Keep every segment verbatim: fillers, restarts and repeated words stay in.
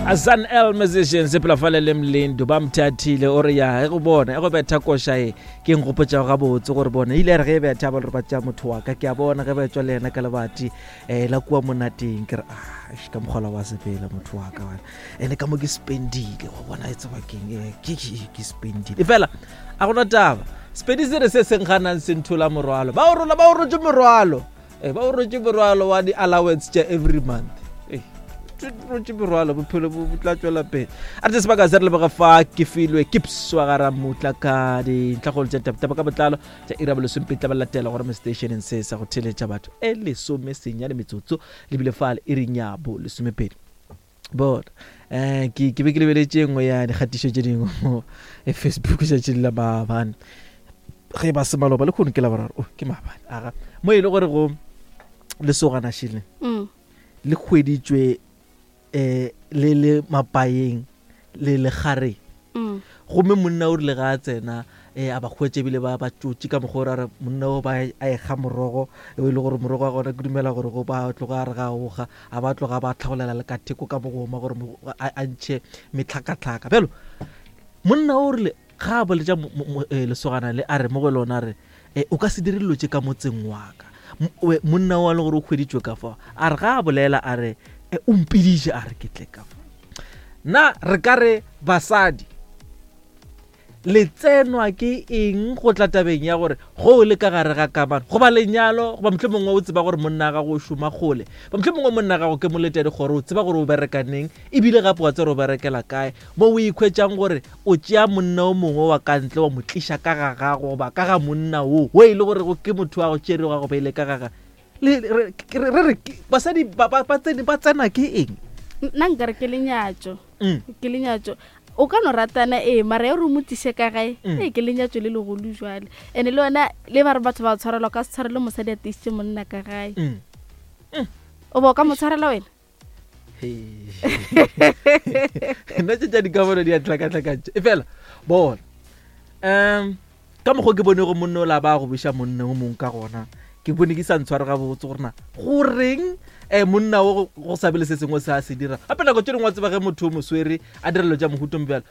Azan L musicians sepela fale le mlendo ba mthathile o re ya e go bona e go betha koša e ke nkgopotša gabotse gore bona ile ya re ge e betha ba le gore ba tšea motho wa ka ke a bona ge ba tswa le yena ka lebati um la kua monateng ke re ah eish, ka mokgola wa sepela motho wa ka bana ene ka mo ke spendile go bona e tseba keng eh, ke ke- ke spendile e fela a gona taba sepedi se re se seng ganang se nthola morwalo ba o rola ba o rotse morwalo Eh, ba o rotse morwalo wa di-allowance tša every month Eh, rotse morwalo bophelo bo bo tla tswela pele a re tse sebaka se re leboga fa ke filwe ke pswa ga ramutla ka dintlhagolo tša tabtaba ka botlalo tša ira bolesomepedi tla ba latela gore mo stationeng se sa go theletša batho e lesome senyane metsotso lebile fale e reng ya bo lesomepedi bona um ke ke be ke lebeletše e nngwe ya dikgatišo tše dingwe mo e facebook tšatšing la maabane ge ba se maloba le kgono ke la boraro oh, ke maabane aga mo e le gore go lesogana šele Mm. le hweditšwe um le le mapaeng le legareng Mm. gomme monna o rile ga a tsena um a ba hwetše ebile ba ba tšotše ka mokgwa o re monna o ba a ekga morogo e le gore morogo wa gona ke dumela gore go ba tloga a re ga oga a ba tloga ba tlhagolela le ka theko ka mogoma gore mo- a a ntšhe metlhakatlhaka bjalo monna o rile ga a boletša mo- mo- mo- eh, lesogana le a re mo go lona a re eh, o ka se dire dilo tše ka motseng wa ka M- we- monna o a le gore o hweditšwe ka fao a re ga a bolela a re eh, o mpiditše a re ke tle ka fa na re ka re basadi le tsenwa ke eng go tla tabeng ya gore go o le ka gare ga kamano goba lenyalo goba motlho mongwe o tseba gore monna wa gago o šoma kgole ba motlho mongwe monna wa gago ke molete dikgoro o tseba gore o bereka neng ebile gape wa tsere o berekela kae mo o ikhwetšang gore o tšea monna o mongwe wa ka ntle wa mo tliša ka ga gago goba ka ga monna wo o e le gore ke motho wa go tšere wa go beile ka ga ga le re re re re ke- basadi ba ba- ba tsene- ba tsena ke eng nna nkare ke lenyatso Mm. ke lenyatso o ka no ratana ee mara ya gore o mo tlise ka gae Mm. ee ke lenyatso le legolo jale and-e le yona le ba re batho ba tshwarelwa ka se tshwarele mosadi a tiisitse monna ka gae Mm. o ba o ka mo tshwarela wena nna tše tša dikamano di a tlhakatlhakantše e fela bona um ka mokgwa ke bone go monna o la ba go beša monna o mongwe ka gona ke bone ke sa ntshware gabotse gore na goreng um monna o go- go sa be le se sengwe se a se dira gape nako tše dingwe wa tseba ge motho o mo swere a dira dilo tša mohutong bjalo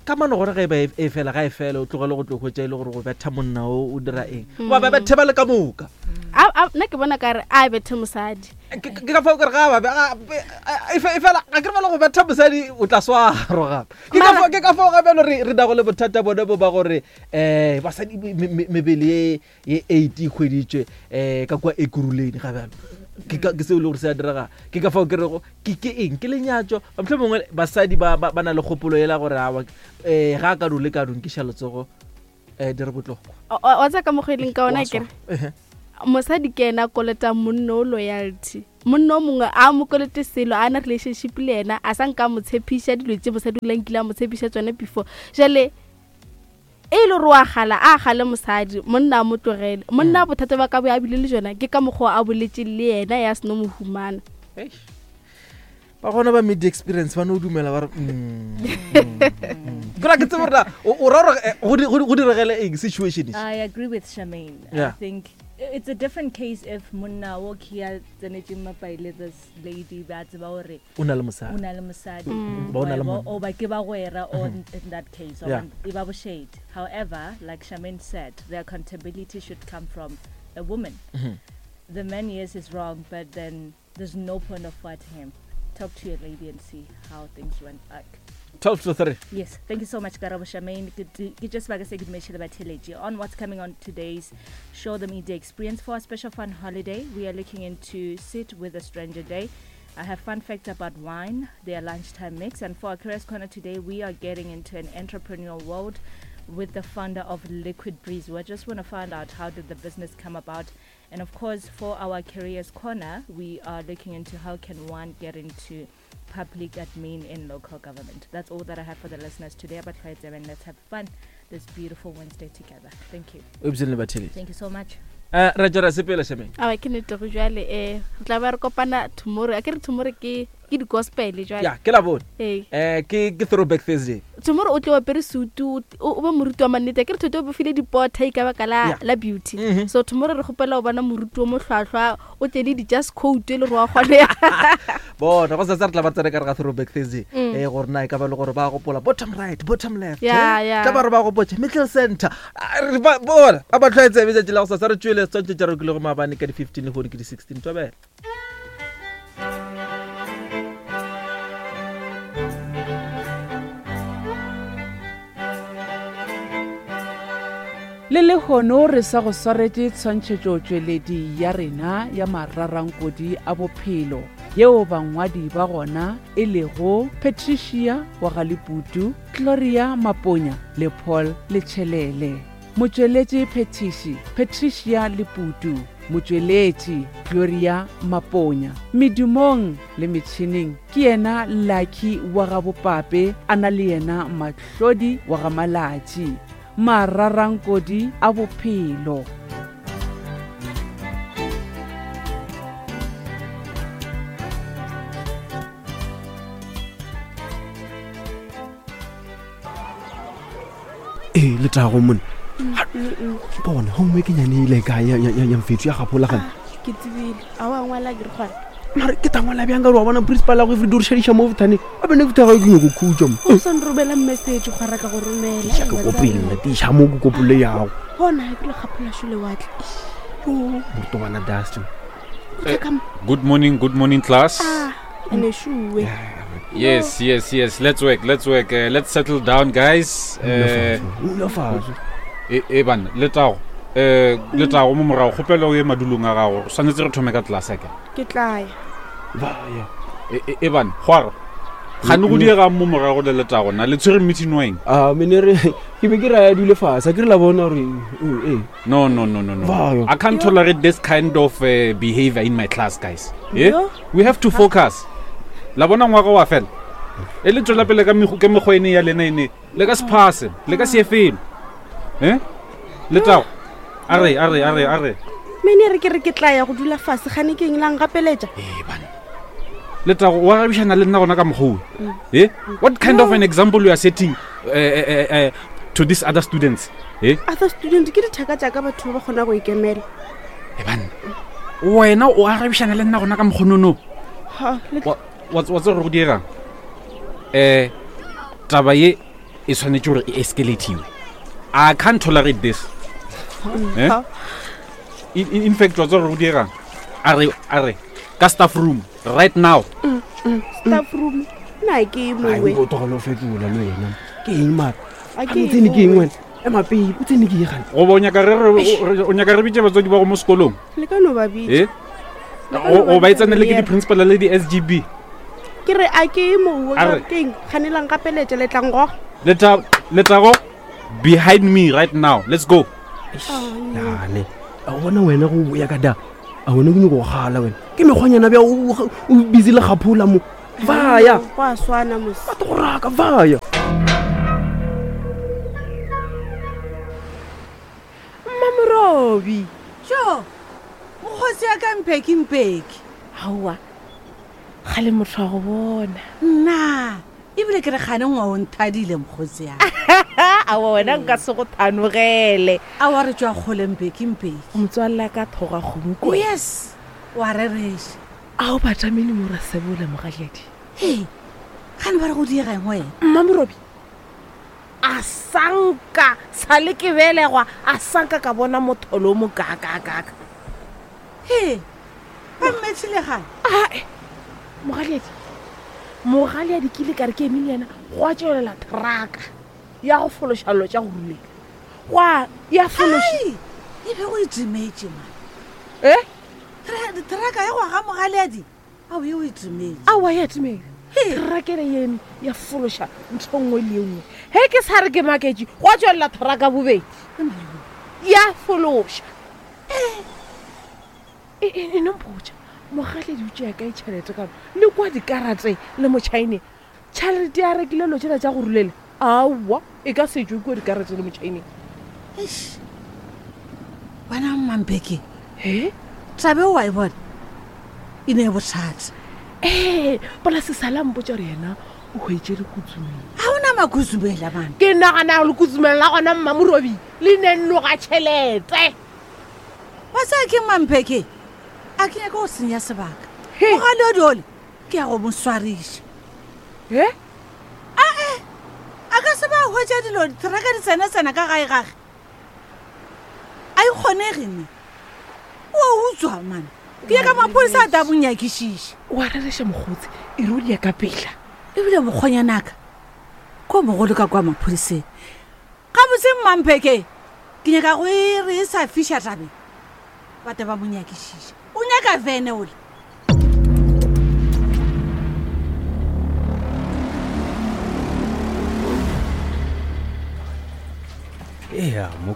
kamano gona ge e ba e e fela ga e fela o tlogele go tlo hwetša e le gore go betha monna o o dira eng goba ba bethe ba le ka moka A- a- nna ke bona kare a bethe mosadi ke ke ka fao kere ga ba be- ga- be- a- e fe- e fela ga ke re bale go betha mosadi o tla swarwa gape ke ka Mara- fao- ke ka fao gape lo re re nago le bothata bone bo ba gore um basadi me- me- mebele ye ye eight e hweditšwe um ka kua ekuruleng ga bjalo ke ka- ke seo e le gore se a direga ke ka fao ke rego ke ke eng ke lenyatso motlho mongwe basadi ba ba ba na le kgopolo ela gore awa um ga a ka dule ka donkiša letsogo um di re botlhokwa O- o- wa tsaya ka mokgwa e leng ka ona Wa kere swarwa. Ehe. mosadi ke ena a kolotang monna o loyalty monna o mongwe a mo kolote selo a na relationship le ena a sa nka mo tshepiša dilo tse mosadi o la nkile a mo tshepiša tsone before jale e le gore wa gala a gale mosadi monna a mo tlogele monna bothata ba ka bo a bile le jona ke ka mokgwa a boletse le yena ya seno mo humana Eish. ba gona ba media experience ba no dumela ba re mm, mm, mm. Ke ra ke tsebe gore na o o ra gore eh, go di- go di- go diregele eng situation e? I agree with Charmaine. Yeah. I think i- it's a different case if monna o ke a tsenetseng mapaile this lady ba tseba gore o na le o mosadi na le mosadi Ba o na le Wa- monna. o ba ke bagwera or in in that case or Yeah. e ba boshade. However, like Charmaine said, the accountability should come from a woman. Mhm. The man, yes, is wrong, but then there's no point of fighting him. Talk to your lady and see how things went back. twelve to three Yes, thank you so much, Karabo Charmaine. Ke ke just like I said, on what's coming on today's Show the Media Experience for our special fun holiday. We are looking into Sit with a Stranger Day. I have fun facts about wine, their lunchtime mix, and for our Careers Corner today, we are getting into an entrepreneurial world with the founder of Liquid Breeze. We just want to find out how did the business come about, and of course, for our Careers Corner, we are looking into how can one get into public admin in local government. That's all that I have for the listeners today about Quiet and let's have fun this beautiful Wednesday together. Thank you. o ebile le batheletši Thank you so much. um ra tswela sepela Charmaine aba ke nnete go jale um re tla ba re kopana tomorrow a ke re tomorrow ke Ke di-gospel jwale. Ya, ke la bone. Ee. Eh ke ke throwback Thursday. Tomorrow o tle o apere sutu, o o be moruti wa mannete. Ke re thoto o bofile dipota e ka baka la Yeah. la beauty. Mhm. So tomorrow re kgopela go bona moruti o mohlwahlwa o tle le di-just coat e le gore wa kgone. Bona go sasa re tla ba tsena ka re ga throwback Thursday. Mm. Eh gore na e ka ba le gore ba gopola bottom right, bottom left. Yeah, eh? yeah. Tla ba re ba gopotse middle center. Ah, re ba bona ba ba tlwaetse letšatši la go sasa re tšwele setshwantsho tša rekile go maabane ka di-fifteen le gone ke di-sixteen tobela. Le lehono re sa go swaretše tshwantšhetšotšweledi ya rena ya mararankodi a bophelo yeo bangwadi ba gona e lego Patricia wa ga Leputu, Gloria Maponya le Paul Letšhelele. Motšweletši phethiši Patricia Leputu, motšweletši Gloria Maponya. Medumong le metšhineng ke yena Lucky wa ga Bopape, a na le yena Mahlodi wa ga Malatši. Mararankodi a bophelo. Ee, letago mone. Bona homework e nyane ile kae ya- ya ya mfetso ya gapolagane. Ke tsebile. A wa ngwala ke re gona. Mare ke tangwala bjang ka gore wa bona principal ya go everyday o re šadiša mo bothaneng. A bene ke thaga ke nyako khutša mo. O sa nromela message gwa ka go romela. Tiša ke kopele, tiša mo ke kopole yago. Bona ke le kgapola sho lewatle. Yo, morutobana Dustin. O tla ka mo. Good morning, good morning, class. Ah, ene shuwe. Yes, yes, yes. Let's work, let's work. Uh, let's settle down, guys. Uh, Dula fatshe. e e bana, letago. Eh, letago mo morago kgopela o ye madulong a gago. Swanetse re thome ka class ke. Ke tla ya. Ba ya. E e- e bana, gwara. Gane go diega mo morago le letago na le tshwere meeting weng? Ah, mene re ke be ke re a dule fatshe, a ke re la bona gore eh No, no, no, no, no. Vayo. I can't tolerate this kind of uh, behavior in my class, guys. Eh? Yo. We have to focus. La bona ngwaga wa fela. E le tswela pele ka mekgo ka mekgwa ene ya lena ene. Le ka se pass, le ka se ye felo. Eh? Letago. A re, a re, a re, a re. Mene re ke re ke tla ya go dula fase gane ke eng la ngapeletša. Eh bana. Letago wa rabišana le nna gona ka mokgwa o. Eh? What kind of an example you are setting uh, uh, uh, to these other students? Eh? Other student ke dithaka tša ka batho ba ba kgona go ikemela. Eh bana. Wena o arabišana le nna gona ka mokgwa no. Ha, le Wa wa wa tseba gore go diegang? Eh taba ye e tshwanetse gore e escalatiwe. I can't tolerate this. Eh? Ha. In, in, in fact, wa tseba gore go diegang? A re a re ka staff room right now. Staff room. Na ke Ai, mongwe. o tlogele o fetola le wena. Ke eng mara? A A ke o tsene ke eng mongwe. wena? Ema pele, o tsene ke eng gane? Goba o nyaka re re o nyaka re bitse batswadi ba go mo sekolong? Le ka no ba bitša. Eh? O ba e tsene le ke di-principal le di-S G B. Ke re a ke mongwe A re- ke eng gane la ngapeletša le tla ngoga. Leta Letago behind me right now. Let's go. Yane. A o bona wena go boya ka da. A wena ke nyako go gala wena. Ke mekgwanyana bja o o busy le gapola mo. Vaya. Go a swana mos. Ba tlo go raka vaya. Mmamorobi jo mokgosi ya ka mpeki mpeki aowa ga le motho wa go bona nna ebile ke re gane ngwa o nthadile mokgosi ya aowa wena nka se go thanogele a wa re tswa kgole mpeki mpeki motswalle ka thoga kgomo ko yes wa rereša a o batamene mo rasebola mogaledi ee gane ba re go diega eng wena mmamorobi a sanka sa le ke belegwa a sanka ka bona motholo o mo kakakaka ee ba mmetšhile gane ae mogaleadi mogaleadi ke ile ka re ke emeng le yena go a tswelela traka ya go fološa llo tša go rulela gwa ya fološa Ai, e be go e timetše man e traka ya go aga mogaleadi ao e o e timetše aowa ya timela trakele eme ya fološa ntho nngwe le ye nngwe ge ke sa re ke maketše go a tswelela traka bobedi ya fološa e e e nompotša mogaledi o tšea kae tšhelete kano le kwa dikarate le motšhaeneng tšhelete ya rekile lo tšela tša go rulela aowa e ka setswe kua dikarate le motšhaeneng Eish. wena mmampeke he tabe o a e bona e ne e bothata Ee, polase sala mpotsa gore yena o hwetše lekutsumeng. Ga ona makhuzumela bana. Ke nagana lekutsumeng la gona Mmamorobi le ne nnoga tšhelete. Wa tsaya ke Mampheke, a ke nyaka go senya sebaka. Mogaleadi ole ke ya go mo swariša. E? Ae, a ka se ba hwetša dilo diteraka di tsena-tsena ka gae gage. A e kgonege ne. O utswa mane. Ke ya ka maphodisa a tla mo nyakišiša. Wa rereša mokgotsi, e re o di ya ka pela. Ebile mokgonyanaka, ko mogolo ka kwa maphodiseng. Gabotse Mmampheke, ke nyaka go e re e sa fiša tabeng. Ba tla ba mo nyakišiša. O nyaka vene ole. Ea, mo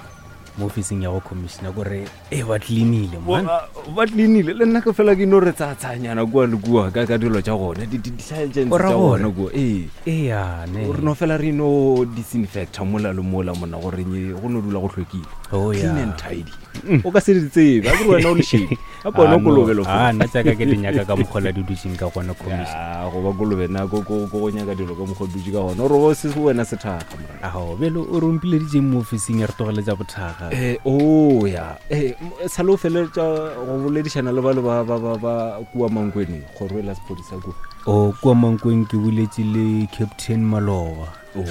mo ofising ya go commissioner kore e ba cleanile man. Ba cleanile le nna ke fela ke no re tsatsanyana kua le kua ka ka dilo tša gona di di di O ra tša gore? gona kua. Ee. Ea, ne. Re no fela re no disinfecta mola le mola mona gore nye go no dula go hlwekile. Oh, Clean yeah. and tidy. O ka se di tsebe, a ke re wena o lešedi. Gape wena o kolobe lo Ah, nna tsaka ke di nyaka ka mokgwa la di dutseng ka gona commissioner. Ya, go ba kolobe na ko ko ko go nyaka dilo ka mokgwa o dutse ka gona. O re bo se wena sethaga morena. Ao, bjale o re ompileditseng mo ofising ya re tlogeletša bothaga. Eh, oh ya. Eh, m- sale o feleletša go boledišana le ba le ba ba ba ba kua Mankweng, kgoro e la sephodisa kua. O kua Mankweng ke boletše le Captain Maloba. Oh.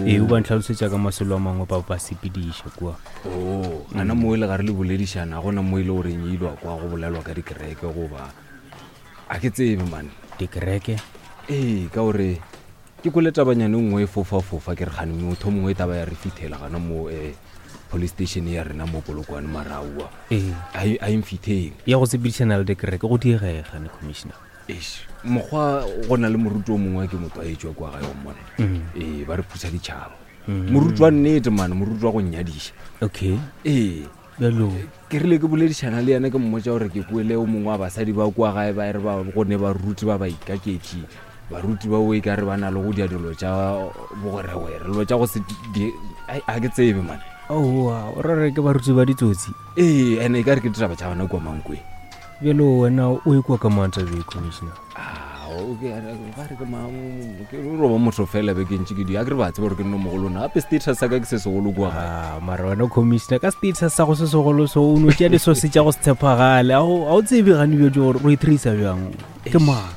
Ee, o ba ntlhalosetša ka masolo a mangwe ba ba sepediša kua. Oh, ana mo e le gare le boledišana, gona mo e le goreng e ilwa kwa go bolelwa ka dikereke goba a ke tsebe man. Dikereke? Ee, ka gore ke kwele tabanyane nngwe e fofa-fofa ke re kgane motho mongwe e taba ya re fithela gana mo eh, police station ya rena mo Polokwane maraua. Ee. A e- a e mfitheng. Ya go sepedišana le dikereke go diegega ne commissioner. Eish, mokgwa go na le moruti o mongwe ke motlwaetši wa kwa gae wa mmona. Mm. Ee, ba re phusa ditšhaba. Mm. Moruti wa nnete man, moruti wa go nnyadiša. Okay. Ee. Bjalo. Ke rile ke boledišana le yena ke mmotša gore ke kwele o mongwe wa basadi ba kwa gae ba re ba go ne baruti ba ba ikaketši. Baruti ba o e ka re ba na le go dia dilo tša bogwerewere, dilo tša go se di, ai, a ke tsebe man. Aowa, o ra re ke baruti ba ditsotsi. Ee, ene e ka re ke ditaba tša gona kua Mankweng. Bjalo wena o e kwa ka mang taba e, commissioner? Ao, ke a re ba re ke ma- ke roba motho fela be ke ntše ke di, a ke re ba tseba gore ke nno mogolo na, gape status sa ka ke se segolo kua gae. Ah, mara wena commissioner ka status sa go se segolo so o no tšea disource tša go se tshepagale. A o a o tsebe gane bjo gore o e tracer bjang? Ke mang?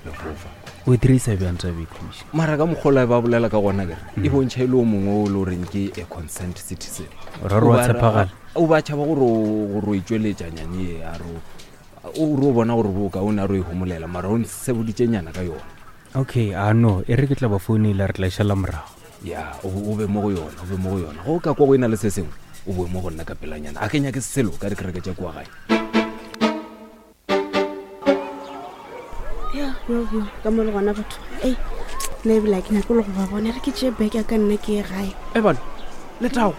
Lefofa. O e tracer bjang taba e, commissioner? Mara ka mokgwa o ba bolela ka gona kere, e bontšha e le o mongwe o le goreng ke a concerned citizen. O ra re wa O ba ra- tshepagala? O ba tšhaba gore o gore o e tšweletša nyane e, a re o- o re o bona gore bokaone a re o e homolela, mara o nseboditše nyana ka yona. Okay, a no, e re ke tla ba founela re tla e šala morago. Ya, o o be mo go yona, o be mo go yona. Go ka kwa go ena le se sengwe, o boe mo go nna ka pelanyana. A ke nyake selo ka dikereke tša kua gae. Ya, yo, yo, ka mo le gona batho. Ei, nna ebile ha ke nyake le go ba bona. Re ke tšee beke ya ka nna ke ye gae. E bana, Letago,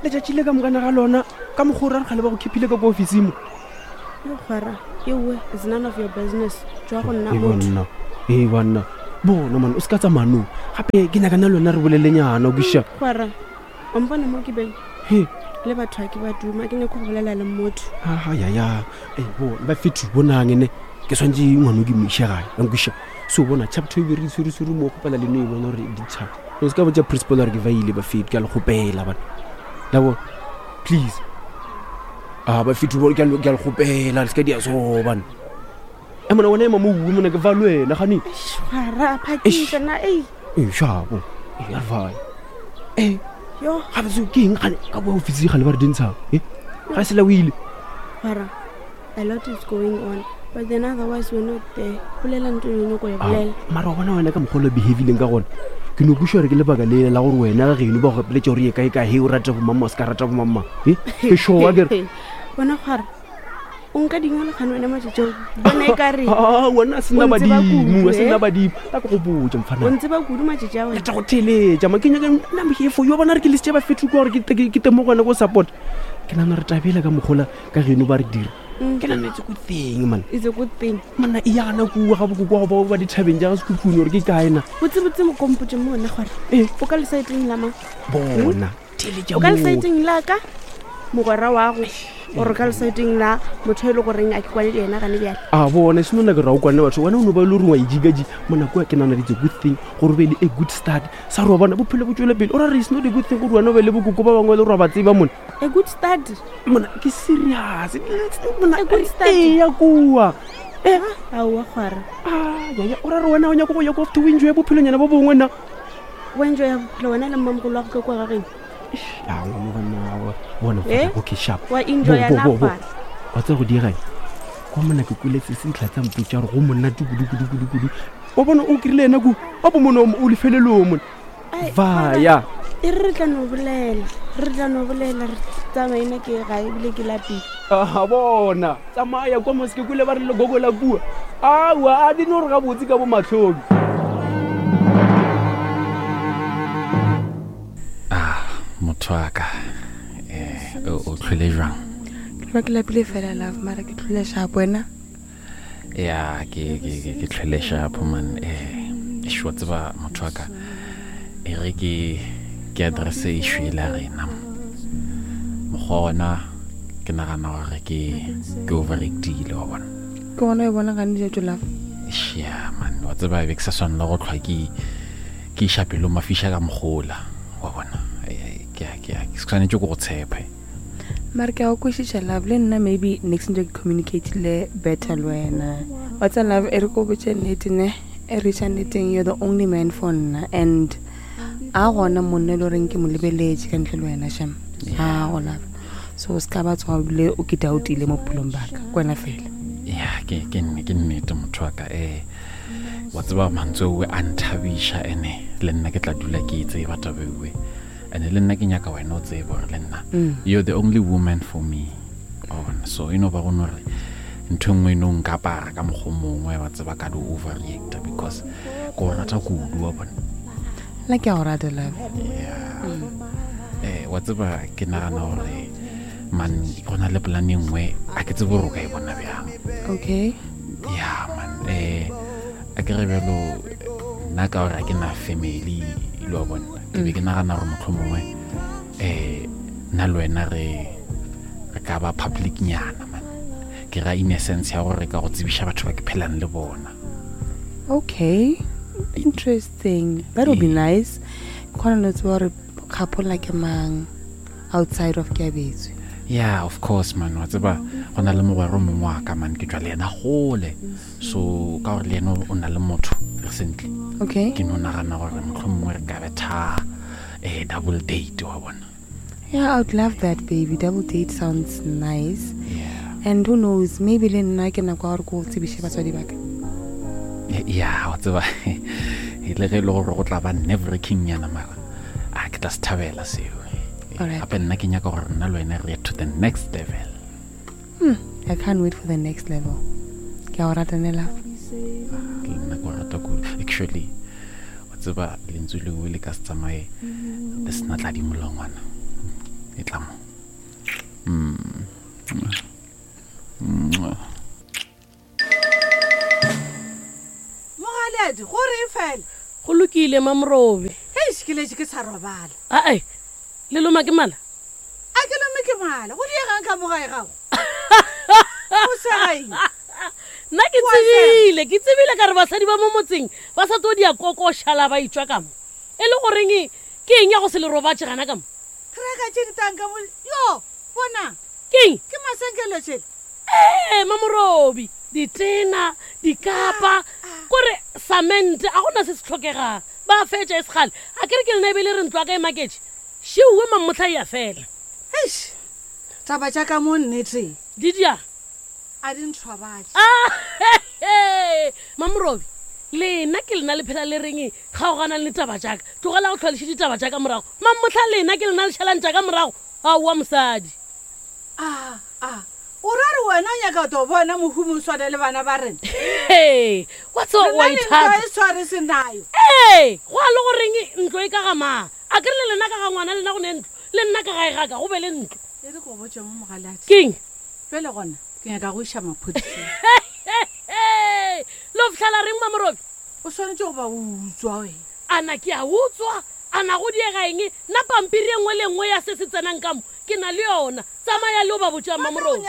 letšatši le ka mokana ga lona ka mokgwa o ra re kgale ba go khiphile ka ko ofising mo. Yo kgwara, ewe, it's none of your business. Tšwa go nna Ee, motho. banna, ee banna, bona man, o se ka tsamaya nou. Gape ke nyaka nna le wena re bolelenyana o kwešiša. Kgwara, o mpona mo ke beng? He. Le batho ha ke ba duma, ke nyaka go bolela le motho. Ayaya, ee bona ba fethu bonang ene ke swantse ngwana ke mo iše gae, wa nkwešiša. So bona chapter e be re swereswere mo kgopela le no e bona gore di tšhaba. O se ka botša principal gore ke vaile ba fethu, ke a le kgopela bana. La bona, please. Ah, ba fethu bona ke a le ke a le kgopela, le se ka dia so bana. E mona wena ema mo bue mona ke va le wena gane. Kgwara, phakisa na, ei. Ee, shapo. Ee, a re vae. Ee. Yo. Gape seo ke eng gane ka kwa ofisi gale ba re dintshang? Eh? Ga se la o ile. Kgwara, a lot is going on. But then otherwise we're not there. Bolela ntho e nyako e Ah, bolela. mara wa bona wena ka mokgwa o le behavileng ka gona ke no kweša gore ke lebaka le la gore wena ga geno ba go gapeletša gore ye kae kae he o rata bomamma o se ka rata bomamma e ke sure ke re Bona kgwara, o nka dingwe le kgane wena matšatši ao. Bona e ka re. Ah, wena a sena O ntseba badimo kudu, a sena eh? badimo ta ke go botša O mfana ntseba kudu matšatši a wena. tla go theletša ma ke nyaka nna mhefo yo bona re ke lesitše ba fetho kwa gore ke te- ke temo go wena ko support ke nagana re tabela ka mokgola ka geno ba re dira Mm. ke nagana it's a good thing man It's a good thing. monna e yana kua ga bokoko wa go ba ba dithabeng ja ga sekhukhune gore ke kae na Botsebotse mokompotše mo wena kgwara. Eh. O ka lesaeteng la mang? bona theletša O ka moo. lesaeteng la ka? Mogwera wa go. Gore ka lesaeteng la motho e le goreng a ke kwane le yena gane bjale. A bona e seno nna ke ra o kwane batho wena o no ba e le gore wa ejikaji mo nako ya ke nagana it's a good thing gore o be le a good start sa gore wa bona bophelo bo tswele pele o ra re it's not a good thing gore wena o be le bokoko ba bangwe le gore wa ba tseba mona A good start. Mona ke serious mona A good start. eya kua Eh, aowa kgwara. yaya o ra re wena o nyako go ya ko after o enjoy bophelonyana bo bongwe na Wa enjoy ya bophelo wena le mmamogolo wa go ka kua ga geno. a ngwana bana bona Eh? okay sharp Wa enjoya Bo, na bo, bo, bo. kgwara. wa tseba go diegang kwa mona ke kuletse se ntlha tsa mpotsa gore go monate kudu-kudu-kudu-kudu wa bona o kry-ile ena ku wa bo mone o lefelelong mone Ai, vaya E re re tla no bolela. Re tla no bolela re tsamaina ke gae ebile ke lapile. a bona tsamaya kwa moseke kule ba re legogo la kua aowa a di no re gabotse ka bo matlhobi motho wa ka um o tlhole jwang Ke ba ke lapile fela love mara ke tlhole sharp wena ya ke ke ke- ke tlhole shapo man um eish, wa tseba motho wa ka e re ke ke addresse issue e la rena mokgwa ona ke nagana gore ke ke overactile wa bona ke gona e bona gane dijatso love Eish, ya man wa tseba be ke sa tshwanela go tlhwa ke ke iša pelo mafiša ka mogola wa bona Eh, eh, ke a- ke a- ke tshwanetse ke go tshepe mara ke a go kwešiša love le nna maybe next ntse ke communicatile better le wena wa tsa love e re ko botse nnete ne e re iša nneteng you're the only man for nna and a gona monna e le goreng ke mo lebeletse ka ntle le wena sham a go love so o se ka ba tsoga ebile o ke doubtile mo bophelong baka ke wena fela ya ke ke nne ke nnete motho wa ka um wa tseba mantswe owe a nthabiša ene le nna ke tla dula ke e tseba taba ewe ene le nna ke nyaka wena o tsebe gore le nna Mm. you're the only woman for me Wa bona so e no ba gone gore ntho e nngwe e no nkapara ka mokgwa o mongwe wa tseba ka di overreacta because ke o rata kudu wa bona nna ke a go rata love um wa tseba ke nagana gore man go na le polane e nngwe a ke tsebe gore o ka e bona bjang okay ya man eh a ke re bjalo nna ka gore a ke na family le wa bona ke be ke nagana gore motlho mongwe um nna le wena re re ka ba public nyana man ke ra in a sense ya gore re ka go tsebiša batho ba ke phelang le bona okay interesting that will be nice ke kgona le tseba gore kgapola ke mang outside of keabetswe yeah of course man wa tseba go na le mogwera o mongwe wa ka man ke tswa le yena gole so ka gore le yena o na le motho recently okay ke no nagana gore motlho mongwe re ka betha um double date wa bona yeah i would love that baby double date sounds nice yeah. and who knows maybe le nna ke nako ya gore ko tsebiše batswadi baka ya wa tseba e le ge e le gore go tla ba nerve-wracking nyana mara a ke tla se thabela seo Alright. gape nna ke nyaka gore nna le wena re ye to the next level hmm, i can't wait for the next level ke a go rata ne love le nna ke o rata kudu actually wa tseba lentswe lengwe le ka se tsamaye le sena tladi molongwana e tla mo Mm. Mwah. mogaledi gore e fela go lokile mamorobe hei sekeletse ke sa robala ae le loma ke mala a ke lome ke mala go diegang ka mogae gago o segaeng nna ke tsebile ke tsebile ka re basadi ba mo motseng ba sa tlo di a kokošala ba itswa ka mo e le goreng ke eng ya go se le robatse gana ka mo traka tše ditanka mo yo bona keng ke masenkelo tšhele ee mamorobi ditena dikapa kore samente a gona se se tlhokegang ba fetša e segale a kere ke lena e be le re ntlo a ka e maketse šeowe mammotlha e ya fela eish taba tša ka mo nnete di dia a di nthwabatše mamorobi lena ke lena le phela le reng kgaoganang le taba jaaka tlogela go tlhwaleše ditaba jaaka morago mammotlha lena ke lena le šhalang jaaka morago aowa mosadi a a o ra re wena o nyaka to bona mohumi o swane le bana ba rena ee wa tseba Rena wa le ithata ntwa e tshware senayo ee go a le goreng ntlo e ka ga mang a kere le lena ka ga ngwana lena go ne ntlo le nna ka gae gaka go be le ntlo e re ko botse mo mogaladi keng pele gona ke nyaka go iša maphodiseng le o fitlhela reng mamorobi o swanetse go ba o utswa wena ana ke a utswa A na go diega eng? Nna pampiri e nngwe le nngwe ya se se tsenang ka mo ke na le yona. Tsamaya le o ba botša Mamorobi.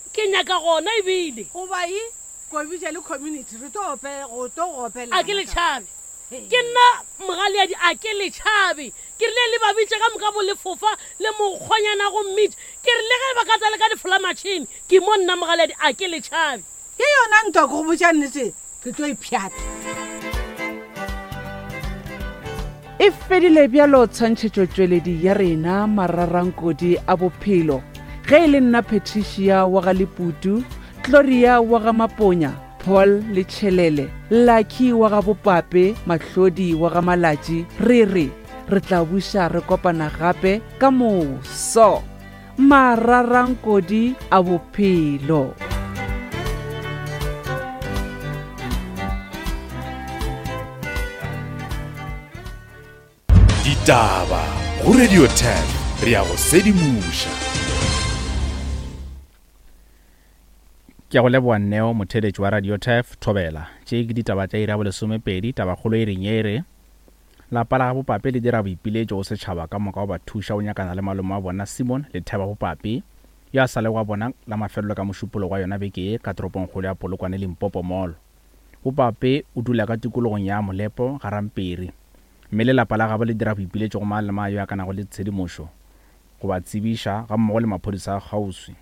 Ke nyaka gona ebile. Goba e kobitša le community re tlo ope go tlo go opela. A ke le tšhabe. Ke nna mogaleadi a ke le tšhabe. Ke rile le ba bitše ka moka bo lefofa le mokgonyana go mmitša. Ke rile ge ba ka tla le ka difola matšhini ke mo nna mogaleadi a ke le tšhabe. Ke yona ntwa ke go botša nnete re tlo ipšhata. E fedile bjalo tshwantšhetšotšweledi ya rena mararankodi a bophelo. Ge e le nna Patricia wa ga Leputu, Gloria wa ga Maponya, Paul le Tšhelele, Lucky wa ga Bopape, Mahlodi wa ga Malatši, re re re tla buša re kopana gape ka moso. Mararankodi a bophelo. Ditaba go Radio ten re ya go sedimoša. Ke a go leboa Neo, motheeletši wa Radio Turf, Thobela. Tše ke ditaba tša iri ya bolesomepedi, tabakgolo e reng e re lapa la ga Bopape le dira boipiletšo go setšhaba ka moka go ba thuša go nyakana le malome wa bona Simon le Theba Bopape, yo a sa le wa bona la mafelelo ka mošupologo wa yona beke ye ka toropongkgolo ya Polokwane Limpopo Mall. Bopape o dula ka tikologong ya Molepo ga Ramperi, mme le lapa la gabo le dira boipiletšo go mang le mang yo a ka nago le tshedimošo go ba tsebiša ga mmogo le maphodisa a kgauswi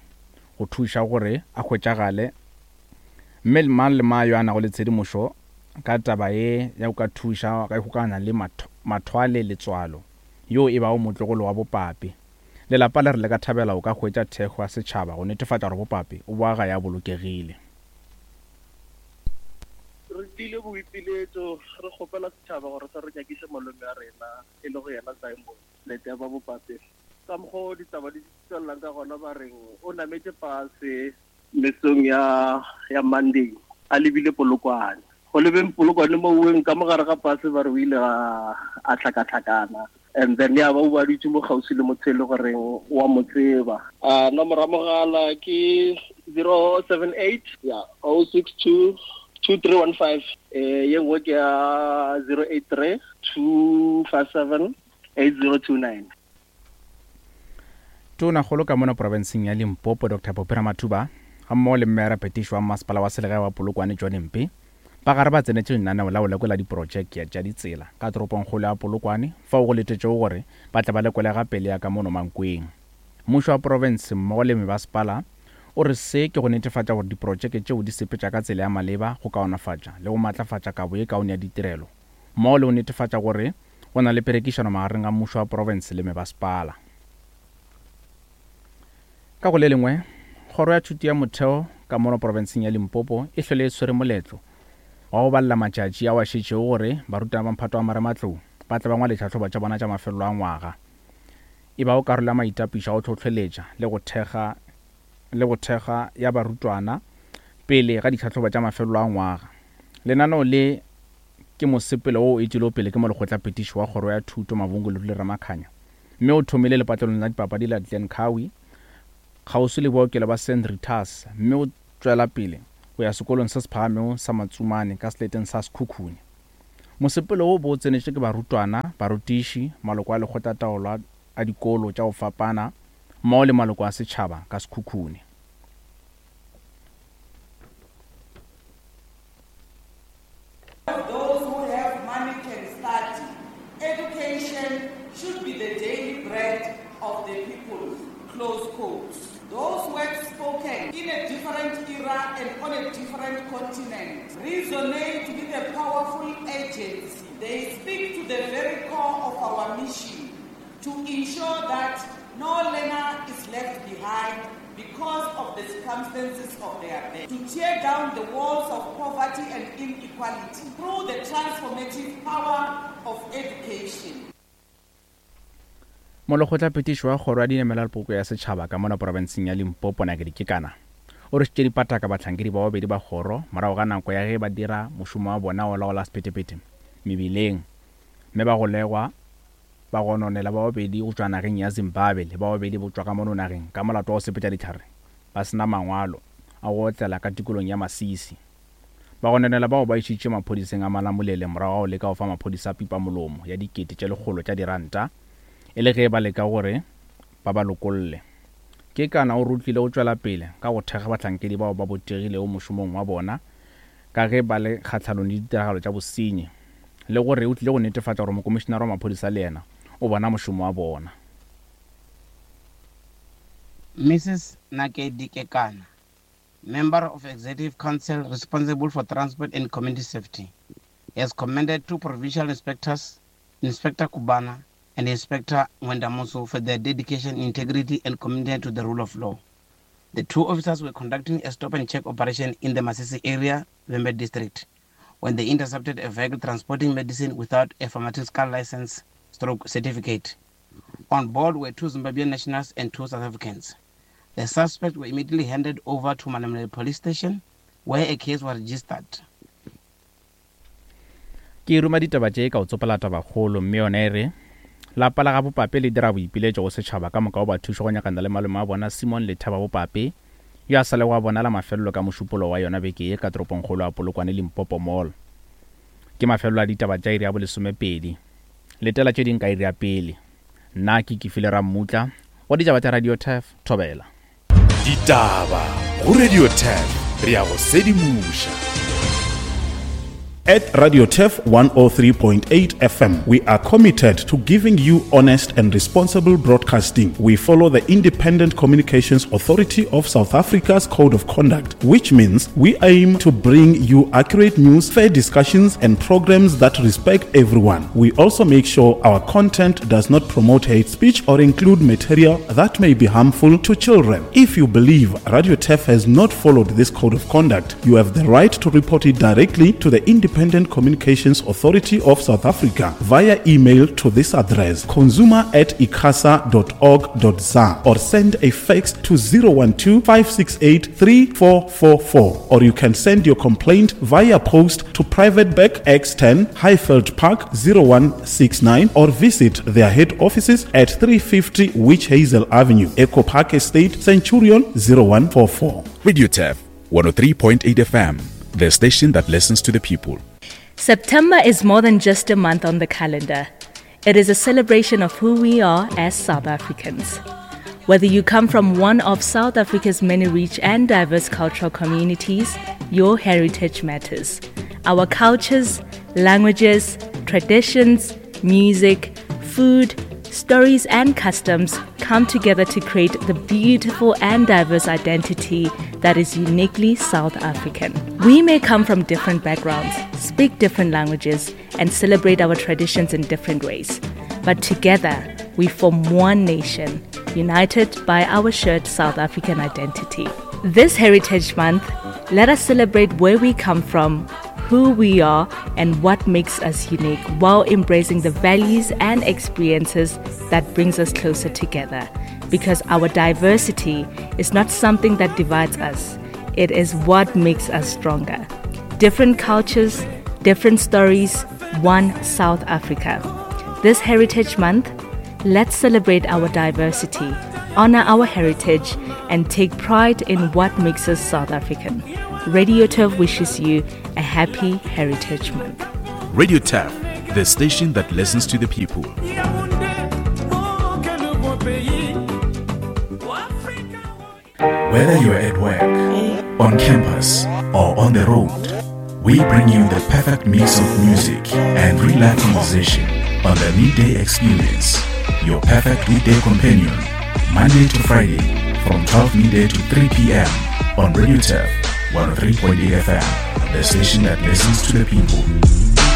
go thuša gore a hwetšagale, mme mang le mang yo a nago le tshedimošo ka taba ye ya go ka thuša ka ikgokaganya le Mathwale Letswalo yo e bago motlogolo wa Bopape. Lelapa le re le ka thabela go ka hwetša thekgo ya setšhaba go netefatša gore Bopape o boa gae a bolokegile. Re tlile boipiletšo re kgopela setšhaba gore se re nyakiše malome a rena e le go yena Simon Leteba Bopape. Ka mokgwa o ditaba di tswelelang ka gona ba reng o nametše pase mesong ya ya Monday a lebile Polokwane. Go lebeng Polokwane mo oweng ka mogare ga pase ba re o ile a tlhakatlhakana, and then ya ba o baditse mo kgauswi le motho e le goreng wa mo tseba. Uh, nomoro ya mogala ke zero seven eight yeah oh six two two three one five. Eh, ye nngwe ke ya zero eight three two five seven eight zero two nine. Tonakgolo ka mona profenseng ya Limpopo Doctor Phophi Ramathuba ga mmogo le mmeyara phetiši wa masepala wa selegae wa Polokwane John Mpe ba gare ba tsenetše lenaneo la go lekola diprojeke tša ditsela ka toropongkgolo ya Polokwane fao go letetšego gore ba tle ba lekole gape le ya ka mono Mankweng. Mmušo wa profense mmogo le mebasepala o re se ke go netefatša gore diprojeke tšeo di sepetša ka tsela ya maleba go kaonafatša le go matlafatša kabo ye kaone ya ditirelo mmogo le go netefatša gore go na le perekišano magareng ga mmušo wa profense le mebasepala. Ka go le lengwe, kgoro ya thuto ya motheo ka mono profenseng ya Limpopo e hlwele e tshwere moletlo wa go balela matšatši ao a šetšego gore barutwana ba mphato wa marematlou ba tle ba ngwale ditlhahlobo tša bona tša mafelelo a ngwaga. E ba go karolo ya maitapišo a go hlohleletša le go thekga le go thekga ya barutwana pele ga ditlhahlobo tša mafelelo a ngwaga. Lenaneo le ke mosepelo wo o etilego pele ke molekgotlaphethiši wa kgoro ya thuto Mabungu Lerule Ramakhanya, mme o thomile lepatlelong la dipapadi la Glen Cowie kgauswi le bookelo ba Saint Rita's, mme o tšwela pele go ya sekolong se se phagamego sa Matsumane ka seleteng sa Sekhukhune. Mosepelo wo bo o tsenetšwe ke barutwana, barutiši, maloko a lekgotlataolo a dikolo tša go fapana mmogo le maloko a setšhaba ka Sekhukhune. Those who have money can study. Education should be the daily bread of the people. Close quotes. Those words spoken in a different era and on a different continent resonate with a powerful urgency. They speak to the very core of our mission to ensure that no learner is left behind because of the circumstances of their birth, to tear down the walls of poverty and inequality through the transformative power of education. Molekgotlaphethiši wa kgoro ya dinamela le poloko ya setšhaba ka mona profenseng ya Limpopo Nakedi Kekana o rwešitše dipataka bahlankedi ba babedi ba kgoro morago ga nako ya ge ba dira mošomo wa bona wa laola sephethephethe mebileng, mme ba golegwa ba gononela ba babedi go tšwa nageng ya Zimbabwe le ba babedi go tšwa ka mono nageng ka molato wa go sepetša dihlare ba sena mangwalo a go otlela ka tikolong ya Masisi. Bagononelwa bao ba išitšwe maphodiseng a Malamulele morago ga go leka go fa maphodisa pipamolomo ya dikete tše lekgolo tša diranta e le ge ba leka gore ba ba lokolle. Kekana o rutlile go tšwela pele ka go thekga bahlankedi bao ba botegilego mošomong wa bona ka ge ba le kgahlanong le ditiragalo tša bosenyi, le gore o tlile go netefatša gore mokomišenare wa maphodisa le yena o bona mošomo wa bona. Missus Nakedi Kekana, Member of Executive Council responsible for Transport and Community Safety, has commended two provincial inspectors, Inspector Kubana and Inspector Mwendamuso, for their dedication, integrity, and commitment to the rule of law. The two officers were conducting a stop and check operation in the Masisi area, Vhembe district, when they intercepted a vehicle transporting medicine without a pharmaceutical license stroke certificate. On board were two Zimbabwean nationals and two South Africans. The suspects were immediately handed over to Malamulele Police Station, where a case was registered. Ke ruma ditaba tše ka o tsopela tabakgolo, mme yona e re lapa la ga Bopape le dira boipiletšo go setšhaba ka moka go ba thuša go nyakana le malome a bona Simon Lethaba Bopape, yo a sa lego a bona la mafelelo ka mošupolo wa yona beke ye ka toropongkgolo ya Polokwane Limpopo Mall. Ke mafelelo a ditaba tša iri ya bolesomepedi. Letela tše ding ka iri ya pele. Nna ke Kefile Rammutla wa ditaba tša Radio Turf Thobela. Ditaba go Radio Turf, re ya go sedimoša. At Radio Turf one oh three point eight F M, we are committed to giving you honest and responsible broadcasting. We follow the Independent Communications Authority of South Africa's Code of Conduct, which means we aim to bring you accurate news, fair discussions, and programs that respect everyone. We also make sure our content does not promote hate speech or include material that may be harmful to children. If you believe Radio Turf has not followed this Code of Conduct, you have the right to report it directly to the Independent Communications Authority of South Africa via email to this address, consumer at icasa dot org dot za, or send a fax to zero one two, five six eight, three four four four, or you can send your complaint via post to Private Bag X ten, Highveld Park zero one six nine, or visit their head offices at three fifty Witch Hazel Avenue, Echo Park Estate, Centurion zero one four four. Radio Turf one oh three point eight F M, the station that listens to the people. September is more than just a month on the calendar. It is a celebration of who we are as South Africans. Whether you come from one of South Africa's many rich and diverse cultural communities, your heritage matters. Our cultures, languages, traditions, music, food, stories and customs come together to create the beautiful and diverse identity that is uniquely South African. We may come from different backgrounds, speak different languages, and celebrate our traditions in different ways. But together, we form one nation, united by our shared South African identity. This Heritage Month, let us celebrate where we come from, who we are, and what makes us unique, while embracing the values and experiences that brings us closer together. Because our diversity is not something that divides us, it is what makes us stronger. Different cultures, different stories, one South Africa. This Heritage Month, let's celebrate our diversity, honor our heritage, and take pride in what makes us South African. Radio Turf wishes you a happy Heritage Month. Radio Turf, the station that listens to the people. Whether you're at work, on campus, or on the road, we bring you the perfect mix of music and real-life conversation on the Midday Experience, your perfect weekday companion, Monday to Friday from twelve midday to three p.m. on Radio Turf one oh three point eight F M, the station that listens to the people.